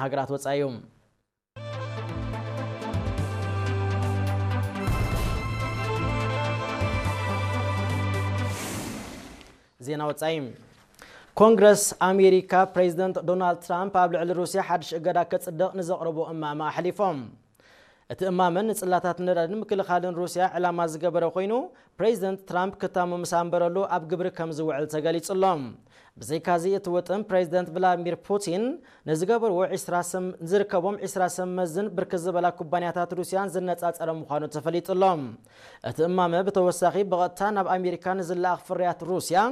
ሃገራት ወጻኢ እዩ። ዜና ወጻኢ። ኮንግረስ ኣሜሪካ ፕሬዚደንት ዶናልድ ትራምፕ ኣብ ልዕሊ ሩስያ ሓድሽ እገዳ ከጽድቕ ንዘቕረቦ እማመ ኣሕሊፎም። እቲ እማመ ንጽላታት ነዳድን ምክልኻልን ሩስያ ዕላማ ዝገበረ ኮይኑ፣ ፕሬዚደንት ትራምፕ ክታሙ ምስ ኣንበረሉ ኣብ ግብሪ ከም ዝውዕል ተገሊጹ ኣሎ። ብዘይካዚ እቲ ውጥን ፕሬዚደንት ቭላድሚር ፑቲን ንዝገበርዎ ዒስራ ሰም-፣ ዝርከቦም ዒስራ ሰመዝን ብርክት ዝበላ ኩባንያታት ሩስያን ዝነጻጸረ ምዃኑ ተፈሊጡ ኣሎ። እቲ እማመ ብተወሳኺ ብቐጥታ ናብ ኣሜሪካ ንዝለኣኽ ፍርያት ሩስያ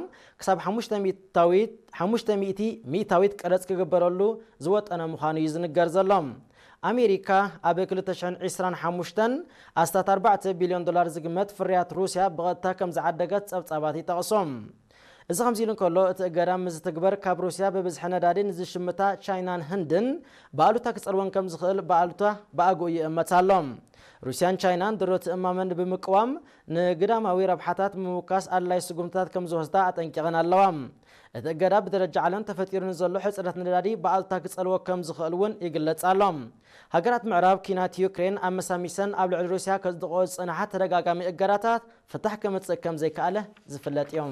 ክሳብ ሓሙሽተ ሚእታዊት፣ ሓሙሽተ ሚእቲ ሚእታዊት ቀረጽ ክግበረሉ ዝወጠነ ምዃኑ እዩ ዝንገር ዘሎ። ኣሜሪካ ኣብ ክልተ ሽሕን ዕስራን ሓሙሽተን ኣስታት ኣርባዕተ ቢልዮን ዶላር ዝግመት ፍርያት ሩስያ ብቐጥታ ከም ዝዓደገት ጸብጻባት ይጠቕሱ። እዚ ከምዚ ኢሉ እንከሎ፣ እቲ እገዳ ምስ ዝትግበር ካብ ሩስያ ብብዝሒ ነዳዲ ንዝሽምታ ቻይናን ህንድን ብኣሉታ ክጸልወን ከም ዝኽእል ብኣሉታ ብኣግኡ ይእመት ኣሎ። ሩስያን ቻይናን ድሮ እቲ እማመ ብምቅዋም ንግዳማዊ ረብሓታት ምውካስ ኣድላይ ስጉምትታት ከም ዝወስዳ ኣጠንቂቐን ኣለዋ። እቲ እገዳ ብደረጃ ዓለም ተፈጢሩ ንዘሎ ሕጽረት ነዳዲ ብኣሉታ ክጸልዎ ከም ዝኽእል እውን ይግለጽ ኣሎ። ሃገራት ምዕራብ ኲናት ዩክሬን ኣመሳሚሰን ኣብ ልዕሊ ሩስያ ከጽድቕኦ ዝጸንሓ ተደጋጋሚ እገዳታት ፍታሕ ከምጽእ ከም ዘይከኣለ ዝፍለጥ እዩ።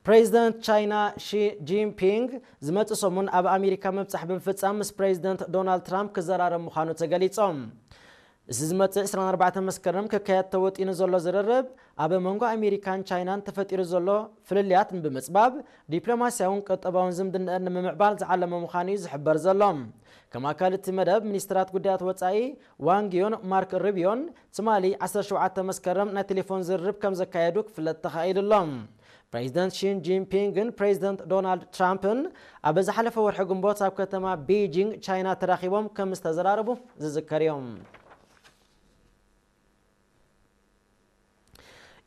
ፕሬዚደንት ቻይና ሺ ጂንፒንግ ዝመጽእ ሰሙን ኣብ ኣሜሪካ ምብጻሕ ብምፍጻም ምስ ፕሬዚደንት ዶናልድ ትራምፕ ክዘራረብ ምዃኑ ተገሊጾም። እዚ ዝመጽእ ዕስራን ኣርባዕተን መስከረም ክካየድ ተወጢኑ ዘሎ ዝርርብ ኣብ መንጎ ኣሜሪካን ቻይናን ተፈጢሩ ዘሎ ፍልልያት ብምጽባብ ዲፕሎማስያውን ቁጠባውን ዝምድናኣን ንምምዕባል ዝዓለመ ምዃኑ እዩ ዝሕበር ዘሎ። ከም ኣካል እቲ መደብ፣ ሚኒስትራት ጉዳያት ወጻኢ ዋንግ ዩን ማርክ ሩቢዮን ትማሊ ዓሰርተ ሸውዓተ መስከረም ናይ ቴሌፎን ዝርርብ ከም ዘካየዱ ክፍለጥ ተኻኢሉ ኣሎ። ፕሬዚደንት ሺን ጂንፒንግን ፕሬዚደንት ዶናልድ ትራምፕን ኣብ ዝሓለፈ ወርሒ ግንቦት ኣብ ከተማ ቤጂንግ ቻይና ተራኺቦም ከም ዝተዘራረቡ ዝዝከር እዩ።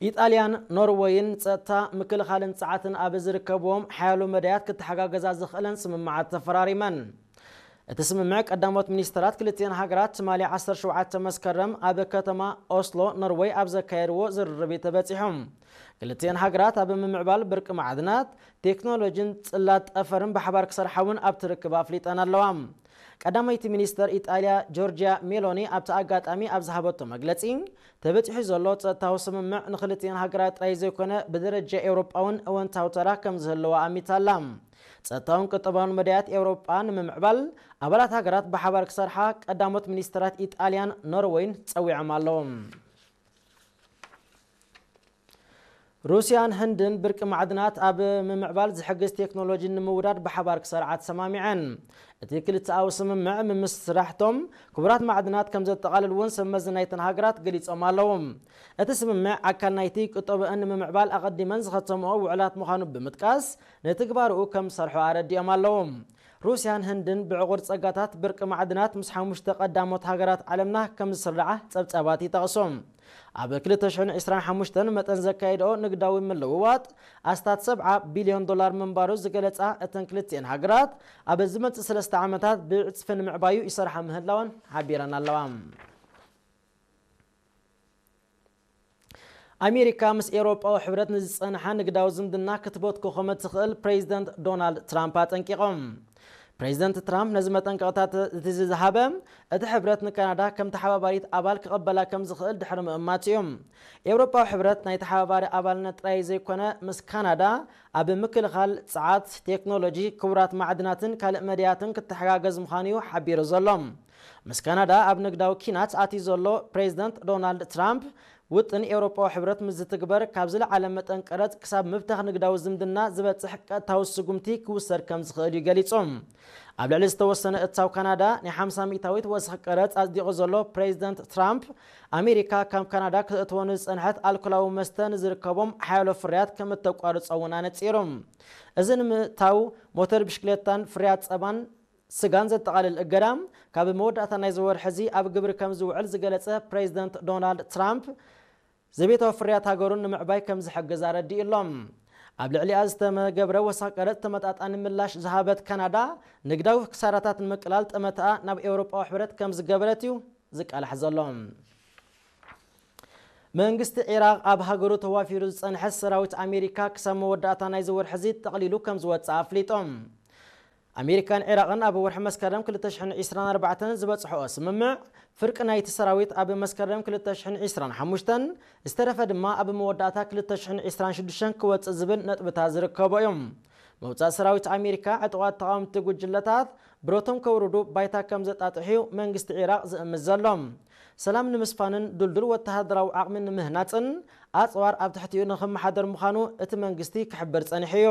ኢጣልያን ኖርወይን ጸጥታ፣ ምክልኻልን ጸዓትን ኣብ ዝርከብዎም ሓያሎ መዳያት ክተሓጋገዛ ዝኽእለን ስምምዓት ተፈራሪመን። እቲ ስምምዕ ቀዳሞት ሚኒስተራት ክልቲአን ሃገራት ትማሊ ዓሰርተ ሸውዓተ መስከረም ኣብ ከተማ ኦስሎ ኖርወይ ኣብ ዘካየድዎ ዝርርብ እዩ ተበጺሑ። ክልቲአን ሃገራት ኣብ ምምዕባል ብርቂ ማዕድናት፣ ቴክኖሎጂን ጽላት ጠፈርን ብሓባር ክሰርሓ እውን ኣብቲ ርክብ ኣፍሊጠን ኣለዋ። ቀዳመይቲ ሚኒስተር ኢጣልያ ጆርጂያ ሜሎኒ ኣብቲ ኣጋጣሚ ኣብ ዝሃበቶ መግለጺ፣ ተበጺሑ ዘሎ ጸጥታዊ ስምምዕ ንክልቲአን ሃገራት ጥራይ ዘይኮነ ብደረጃ ኤውሮጳ እውን እወንታዊ ተራ ከም ዝህልዋ ኣሚታ ኣላ። ጸጥታውን ቁጠባውን መዳያት ኤውሮጳ ንምምዕባል ኣባላት ሃገራት ብሓባር ክሰርሓ ቀዳሞት ሚኒስተራት ኢጣልያን ኖርወይን ጸዊዖም ኣለዉ። ሩስያን ህንድን ብርቂ ማዕድናት ኣብ ምምዕባል ዝሕግዝ ቴክኖሎጂ ንምውዳድ ብሓባር ክሰርዓ ተሰማሚዐን። እቲ ክልተኣዊ ስምምዕ ምምስራሕቶም ክቡራት ማዕድናት ከም ዘጠቓልል እውን ሰብ መዚ ናይተን ሃገራት ገሊጾም ኣለዉ። እቲ ስምምዕ ኣካል ናይቲ ቁጠብአን ንምምዕባል ኣቐዲመን ዝኸተምኦ ውዕላት ምዃኑ ብምጥቃስ፣ ንትግባርኡ ከም ዝሰርሑ ኣረዲኦም ኣለዉ። ሩስያን ህንድን ብዕቑር ጸጋታት ብርቂ ማዕድናት ምስ ሓሙሽተ ቀዳሞት ሃገራት ዓለምና ከም ዝስርዓ ጸብጻባት ይጠቕሱ። ኣብ ክልተ ሽሕን ዕስራን ሓሙሽተን መጠን ዘካየድኦ ንግዳዊ ምልውዋጥ ኣስታት ሰብዓ ቢልዮን ዶላር ምንባሩ ዝገለጻ እተን ክልቲኤን ሃገራት፣ ኣብ ዝመጽእ ሰለስተ ዓመታት ብዕጽፊ ንምዕባዩ ይሰርሓ ምህላወን ሓቢረን ኣለዋ። ኣሜሪካ ምስ ኤውሮጳዊ ሕብረት ንዝጸንሓ ንግዳዊ ዝምድና ክትበትኮ ከም እትኽእል ፕሬዚደንት ዶናልድ ትራምፕ ኣጠንቂቖም። ፕሬዚደንት ትራምፕ ነዚ መጠንቀቕታት እቲ ዝሃበ፣ እቲ ሕብረት ንካናዳ ከም ተሓባባሪት ኣባል ክቕበላ ከም ዝኽእል ድሕሪ ምእማት እዩ። ኤውሮጳዊ ሕብረት ናይ ተሓባባሪ ኣባልነት ጥራይ ዘይኮነ፣ ምስ ካናዳ ኣብ ምክልኻል፣ ጸዓት፣ ቴክኖሎጂ፣ ክቡራት ማዕድናትን ካልእ መድያትን ክተሓጋገዝ ምዃኑ እዩ ሓቢሩ ዘሎ። ምስ ካናዳ ኣብ ንግዳዊ ኪናት ኣትዩ ዘሎ ፕሬዚደንት ዶናልድ ትራምፕ፣ ውጥን ኤውሮጳዊ ሕብረት ምስ ዝትግበር፣ ካብ ዝለዓለ መጠን ቀረጽ ክሳብ ምብታኽ ንግዳዊ ዝምድና ዝበጽሕ ቀጥታዊ ስጉምቲ ክውሰድ ከም ዝኽእል እዩ ገሊጹ። ኣብ ልዕሊ ዝተወሰነ እታው ካናዳ ናይ ሓምሳ ሚእታዊት ወሰኽ ቀረጽ ኣጽዲቑ ዘሎ ፕሬዚደንት ትራምፕ፣ ኣሜሪካ ካብ ካናዳ ክተእትዎ ንዝጸንሐት ኣልኮላዊ መስተ ንዝርከቦም ሓያሎ ፍርያት ከም እተቋርጾ እውን ኣነጺሩ። እዚ ንምእታው ሞተር ብሽክሌታን ፍርያት ጸባን ስጋን ዘጠቓልል እገዳ ካብ መወዳእታ ናይዚ ወርሒ እዚ ኣብ ግብሪ ከም ዝውዕል ዝገለጸ ፕሬዚደንት ዶናልድ ትራምፕ፣ ዘቤታዊ ፍርያት ሃገሩን ንምዕባይ ከም ዝሕግዝ ኣረዲኡ ኣሎ። ኣብ ልዕሊኣ ዝተመገብረ ወሰኽ ቀረጽ ተመጣጣኒ ምላሽ ዝሃበት ካናዳ፣ ንግዳዊ ክሳራታት ንምቅላል ጠመተኣ ናብ ኤውሮጳዊ ሕብረት ከም ዝገበረት እዩ ዝቃላሕ ዘሎ። መንግስቲ ዒራቕ ኣብ ሃገሩ ተዋፊሩ ዝጸንሐ ሰራዊት ኣሜሪካ ክሳብ መወዳእታ ናይዚ ወርሒ እዚ ጠቕሊሉ ከም ዝወጽእ ኣፍሊጦም። ኣሜሪካን ዒራቕን ኣብ ወርሒ መስከረም ክልተ ሽሕን ዕስራን ኣርባዕተን ዝበጽሕኦ ስምምዕ፣ ፍርቂ ናይቲ ሰራዊት ኣብ መስከረም ክልተ ሽሕን ዕስራን ሓሙሽተን፣ ዝተረፈ ድማ ኣብ መወዳእታ ክልተ ሽሕን ዕስራን ሽዱሽተን ክወጽእ ዝብል ነጥብታት ዝርከቦ እዮም። ምውጻእ ሰራዊት ኣሜሪካ ዕጡቓት ተቓወምቲ ጉጅለታት ብረቶም ከውርዱ ባይታ ከም ዘጣጥሕ እዩ መንግስቲ ዒራቕ ዝእምት ዘሎ። ሰላም ንምስፋንን ድልዱል ወተሃደራዊ ዓቕሚ ንምህናጽን ኣጽዋር ኣብ ትሕቲኡ ንኽመሓደር ምዃኑ እቲ መንግስቲ ክሕብር ጸኒሑ እዩ።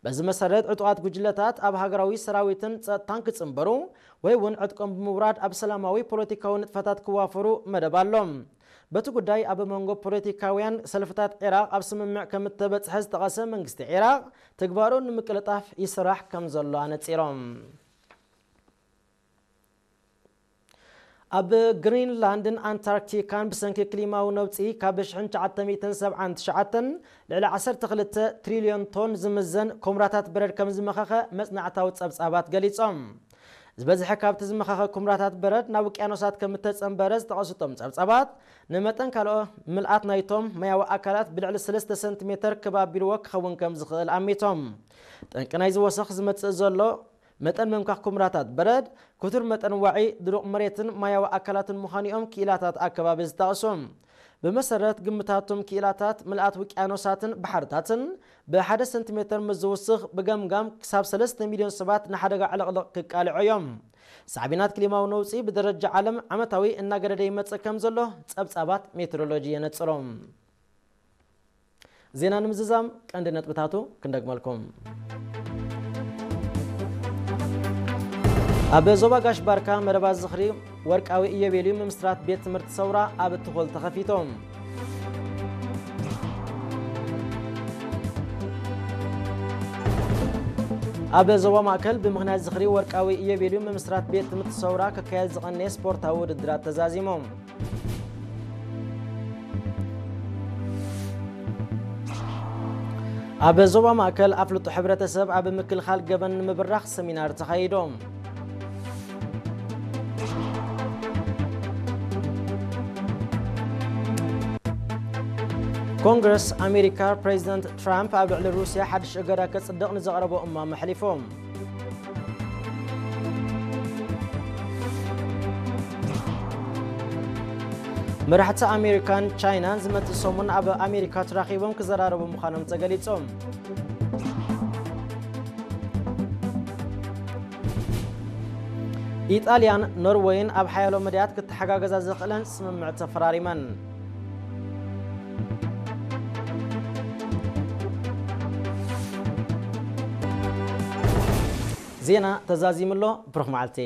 በዚ መሰረት ዕጡቓት ጉጅለታት ኣብ ሃገራዊ ሰራዊትን ጸጥታን ክጽንበሩ ወይ እውን ዕጥቆም ብምውራድ ኣብ ሰላማዊ ፖለቲካዊ ንጥፈታት ክዋፈሩ መደብ ኣሎ። በቲ ጉዳይ ኣብ መንጎ ፖለቲካውያን ሰልፍታት ዒራቕ ኣብ ስምምዕ ከም እተበጽሐ ዝጠቐሰ መንግስቲ ዒራቕ፣ ተግባሩ ንምቅልጣፍ ይስራሕ ከም ዘሎ ኣነጺሮም። ኣብ ግሪንላንድን ኣንታርክቲካን ብሰንኪ ክሊማዊ ነውጺ ካብ ሽሕን ትሽዓተ ሚእትን ሰብዓን ትሽዓተን ልዕሊ ዓሰርተ ክልተ ትሪልዮን ቶን ዝምዘን ኮምራታት በረድ ከም ዝመኸኸ መጽናዕታዊ ጸብጻባት ገሊጾም። ዝበዝሐ ካብቲ ዝመኸኸ ኩምራታት በረድ ናብ ውቅያኖሳት ከም እተጸንበረ ዝጠቐሱ እቶም ጸብጻባት፣ ንመጠን ካልኦ ምልኣት ናይቶም ማያዊ ኣካላት ብልዕሊ ሰለስተ ሰንቲሜተር ክብ ኣቢልዎ ክኸውን ከም ዝኽእል ኣሚቶም። ጠንቂ ናይዚ ወሰኽ ዝመጽእ ዘሎ መጠን ምምካኽ ኩምራታት በረድ፣ ክቱር መጠን ዋዒ ድሩቕ መሬትን ማያዊ ኣካላትን ምዃኑ እዮም ክኢላታት ኣከባቢ ዝጠቕሱ። ብመሰረት ግምታቶም ክኢላታት፣ ምልኣት ውቅያኖሳትን ባሕርታትን ብሓደ ሰንቲሜተር ምስ ዝውስኽ፣ ብገምጋም ክሳብ ሰለስተ ሚልዮን ሰባት ንሓደጋ ዕልቕልቕ ክቃልዑ እዮም። ሳዕቤናት ክሊማዊ ነውጺ ብደረጃ ዓለም ዓመታዊ እናገደደ ይመጽእ ከም ዘሎ ጸብጻባት ሜትሮሎጂ የነጽሩ። ዜና ንምዝዛም ቀንዲ ነጥብታቱ ክንደግመልኩም። ኣብ ዞባ ጋሽ ባርካ መደባት ዝኽሪ ወርቃዊ ኢዮቤልዩ ምምስራት ቤት ትምህርቲ ሰውራ ኣብ ትኾል ተኸፊቶም። ኣብ ዞባ ማእከል ብምኽንያት ዝኽሪ ወርቃዊ ኢዮቤልዩ ምምስራት ቤት ትምህርቲ ሰውራ ክካየድ ዝቐነየ ስፖርታዊ ውድድራት ተዛዚሞም። ኣብ ዞባ ማእከል ኣፍልጦ ሕብረተሰብ ኣብ ምክልኻል ገበን ንምብራኽ ሰሚናር ተኻይዶም። ኮንግረስ ኣሜሪካ ፕሬዚደንት ትራምፕ ኣብ ልዕሊ ሩስያ ሓድሽ እገዳ ከጽድቕ ንዘቕረቦ እማም ኣሕሊፎም። መራሕቲ ኣሜሪካን ቻይናን ዝመጽእ ሰሙን ኣብ ኣሜሪካ ተራኺቦም ክዘራረቡ ምዃኖም ተገሊጹ። ኢጣልያን ኖርወይን ኣብ ሓያሎ መዳያት ክተሓጋገዛ ዘኽእለን ስምምዕ ተፈራሪመን። ዜና ተዛዚሙ ኣሎ። ብሩኽ መዓልቲ።